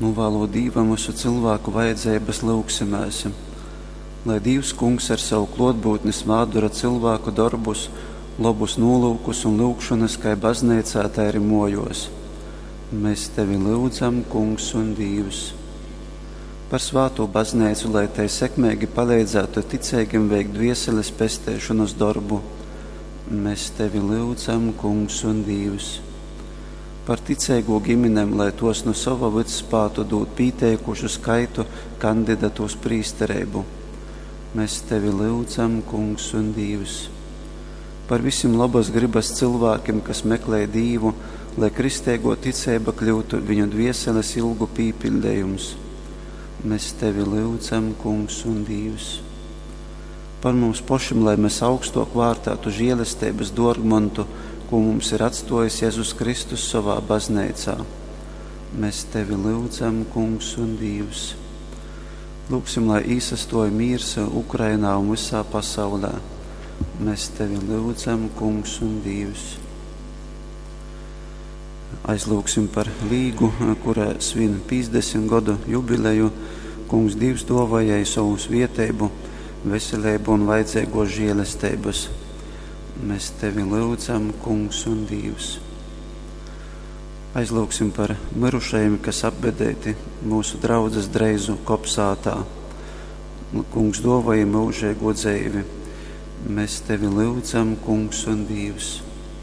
Nūvālūt Dīvam vysu cylvāku vajadzeibas, lyugsimēs, lai Dīvs Kungs ar savu klōtbyutni svātdora cylvāku dorbus, lobus nūlyukus un lyugšonas kai bazneicā, tai arī mōjōs. Mēs Tevi lyudzam, Kungs un Dīvs. Par svātū Bazneicu, lai tai sekmeigi paleidzātu ticeigim veikt dvieseles pesteišonas dorbu. Mēs Tevi lyudzam, Kungs un Dīvs. Par ticeigū giminem, lai tos nu sova vyds spātu dūt pīteikušu skaitu kandidatu uz prīstereibu. Mēs Tevi lyudzam, Kungs un Dīvs. Par visim lobas grybas cylvākim, kas meklej Dīvu, lai kristeigō ticeiba kļyutu viņu dvieseles ilgu pīpiļdejums. Mēs Tevi lyudzam, Kungs un Dīvs. Par mums pošim, lai mēs augstok vārtātu žēlesteibas dōrgmontu, kū mums ir atstōjis Jezus Kristus sovā bazneicā. Mēs Tevi lyudzam, Kungs un Dīvs. Lūgsim, lai īsastōj mīrs Ukrainā un vysā pasaulē. Mēs Tevi lyudzam, Kungs un Dīvs. Aizlūgsim par Līgu, kura svin 50 godu jubileju. Kungs Dīvs dōvoj jai sovu svieteibu, veseleibu un vajadzeigōs žēlesteibas. Mēs Tevi lyudzam, Kungs un Dīvs. Aizlūgsim par mirušajiem, kas apbedēti mūsu draudzes Dreizu kopsātā. Kungs dōvoj myužeigo dzeivi. Mēs Tevi lyudzam, Kungs un Dīvs.